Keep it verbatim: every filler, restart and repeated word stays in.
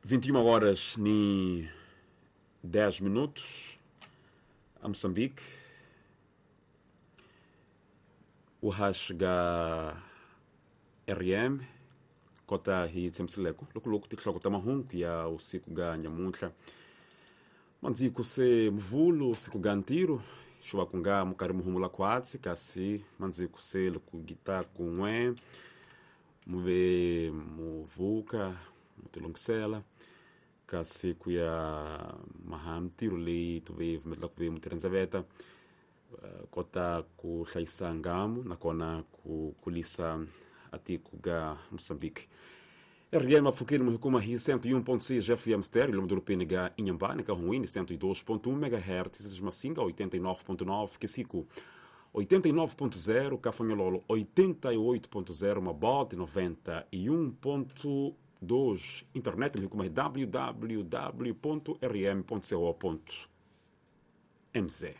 Vinte e uma horas ni dez minutos a Moçambique. O ga R M kota hi tshamisileko loko loko tinhloko ta mahungu ya usiku ga nyamuntlha mandziko se mvulu siku ga ntirho xuva ku nga mukarhi muhumula khwatsi, kasi mandziko se loko gita kun'we muve muvuka mutilungisela kasi ku ya maha mintirho leyi tuve vumelela ku ve mutirhandzaveta kota ku hlayisa ngamu nakona ku kulisa atiko ga Moçambique. R M apfukeni muhikuma hi cento e um ponto seis F M stereo lomu dorobeni ga Inhambane, ka Hunwini cento e dois ponto um M H Z, Massinga oitenta e nove ponto nove, Quissico oitenta e nove ponto zero, Cafanhololo oitenta e oito ponto zero, Mabote noventa e um ponto dois. Internet muhikuma hi W W W ponto R M ponto co ponto M Z.